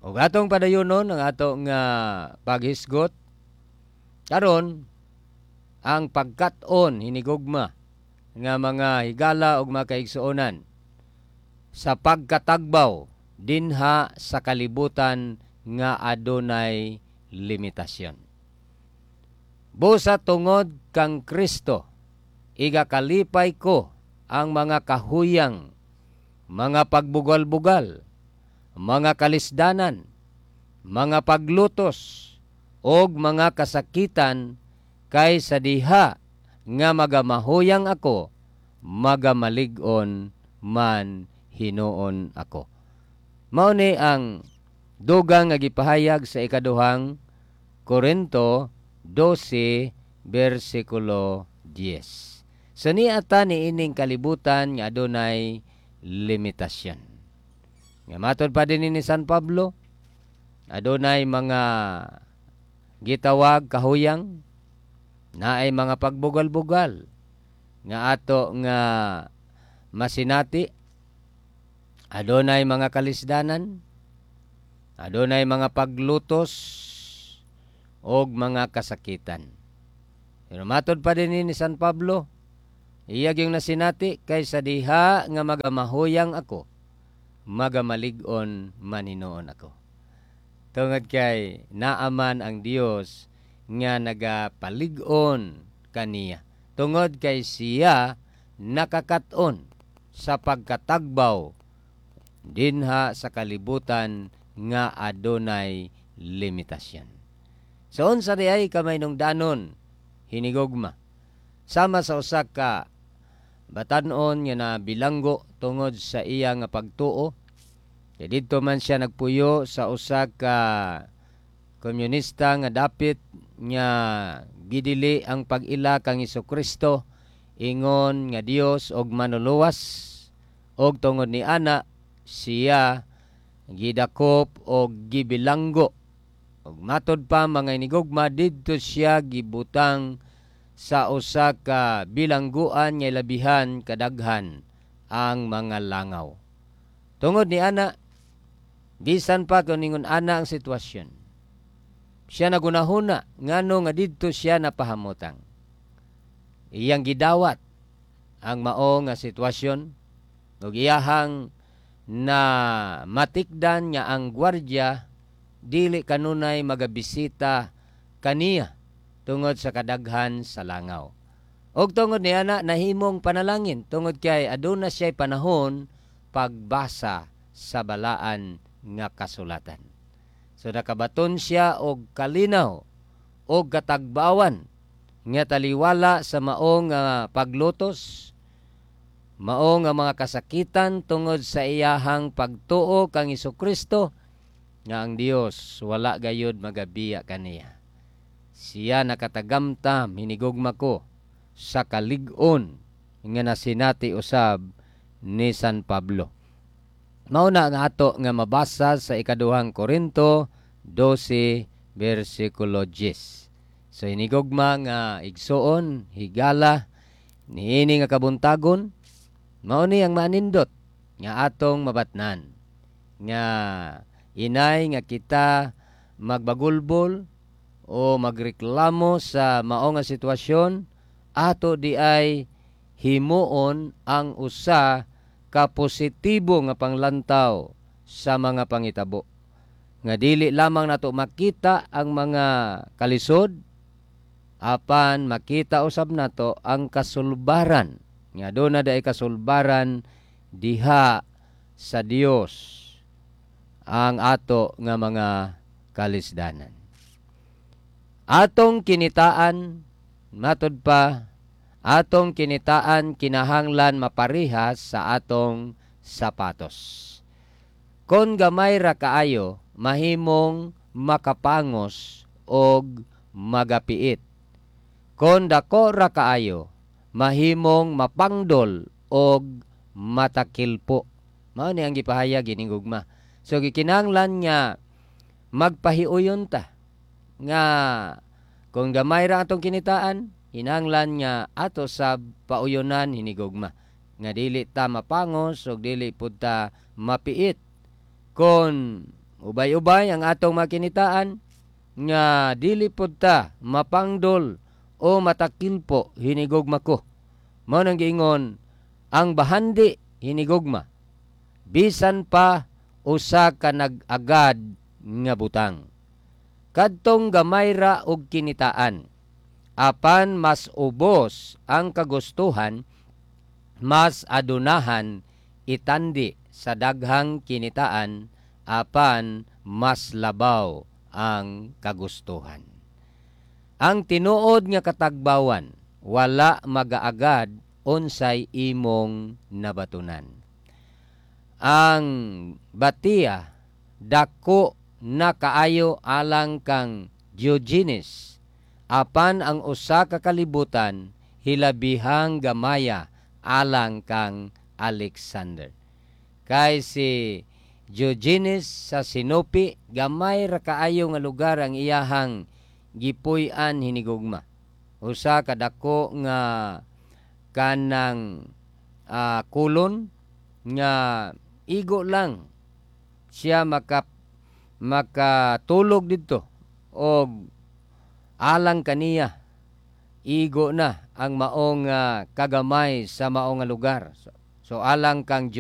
Ug atong padayonon ang ato nga paghisgot karon, ang pagkat-on, hinigugma nga mga higala ug mga kaigsuonan, sa pagkatagbaw dinha sa kalibutan nga adunay limitasyon. Busa tungod kang Kristo, igakalipay ko ang mga kahuyang, mga pagbugal-bugal, mga kalisdanan, mga paglutos, og mga kasakitan, kay sa diha nga magamahuyang ako, magamalig-on man hinuon ako. Mao ni ang dugang nga gipahayag sa Ikaduhang Korinto 12 bersikulo 10. So niata ni ining kalibutan nga adunay limitasyon. Nga matod pa din ni San Pablo, adunay mga gitawag kahuyang, naay mga pagbugal-bugal nga ato nga masinati, adunay mga kalisdanan, adunay mga paglutos og mga kasakitan. Pero matod pa din ni San Pablo, iya gyung nasinati, kay sa diha nga magamahuyang ako, magamalig-on man hinuon ako. Tungod kay naaman ang Dios nga nagapalig-on kaniya. Tungod kay siya nakakaton sa pagkatagbaw dinha sa kalibutan nga adunay limitasyon. So unsa di ay kamahinungdanon, hinigugma? Sama sa usa ka batan-on nga nabilanggo tungod sa iya nga pagtuo. Kay didto man siya nagpuyo sa usa ka komunista nga dapit nga gidili ang pag-ila kang Kristo ingon nga Dios og manuluwas, og tungod ni ana siya gidakop og gibilanggo. Ug matod pa, mga inigugma, didto siya gibutang sa usa ka bilangguan nga labihan kadaghan ang mga langaw. Tungod ni ana, bisan pa kung ningon ana ang sitwasyon, siya nagunahuna ngano nga didto siya napahamutang. Iyang gidawat ang mao nga sitwasyon ug iyahang na matikdan nga ang gwardya dili kanunay magabisita kaniya tungod sa kadaghan sa langaw. Og tungod ni ana, nahimong panalangin tungod kay aduna siya panahon pagbasa sa balaan nga kasulatan. So nakabaton siya og kalinaw og katagbawan nga taliwala sa mao nga paglutos, mao nga mga kasakitan tungod sa iyahang pagtuo kang Kristo, nga ang Dios wala gayud magabiya kaniya. Siya nakatagamtam, hinigugma ko, sa kalig-on nga nasinati usab ni San Pablo. Mao na ang ato nga mabasa sa Ikaduhang Korinto 12 bersikulo 10. So hinigugma nga igsuon, higala, niini nga kabuntagon, mao ni ang manindot nga atong mabatnan nga inay nga kita magbagulbol o magreklamo sa mao nga sitwasyon, ato di ay himuon ang usa ka positibo nga panglantaw sa mga pangitabo nga dili lamang nato makita ang mga kalisod, apan makita usab nato ang kasulbaran nga aduna day kasulbaran diha sa Dios ang ato nga mga kalisdanan. Atong kinitaan, matod pa, atong kinitaan kinahanglan maparehas sa atong sapatos. Kon gamay ra kaayo, mahimong makapangos og magapiit. Kon dako ra kaayo, mahimong mapangdol og matakilpo. Mao ni ang gipahayag, hinigugma. So gikinahanglan nga magpahiuyon ta nga kung gamay ra atong kinitaan, hinanglan nga ato sa pauyonan, hinigugma, nga dili ta mapangos ug dili pud ta mapiit kon Ubay-ubay ang atong makinitaan nga dili pud ta mapangdol o matakilpo hinigugma ko. Mao nang giingon ang bahandi hinigugma bisan pa usa ka nag-agad nga butang. Kadtong gamay ra og kinitaan, apan mas ubos ang kagustuhan, mas adunahan itandi sa daghang kinitaan, apan mas labaw ang kagustuhan. Ang tinuod nga katagbawan wala magaagad unsay imong nabatunan. Ang batiya dako na kaayo alang kang Diogenes, apan ang usa ka kalibutan hilabihang gamaya alang kang Alexander. Kay si Diogenes sa Sinope, gamay ra kaayo nga lugar ang iyahang gipuy-an hinigugma. Usa ka dako nga kanang kulon nga igo lang siya makatulog didto og alang kaniya igo na ang maong kagamay sa maong nga lugar. So alang kang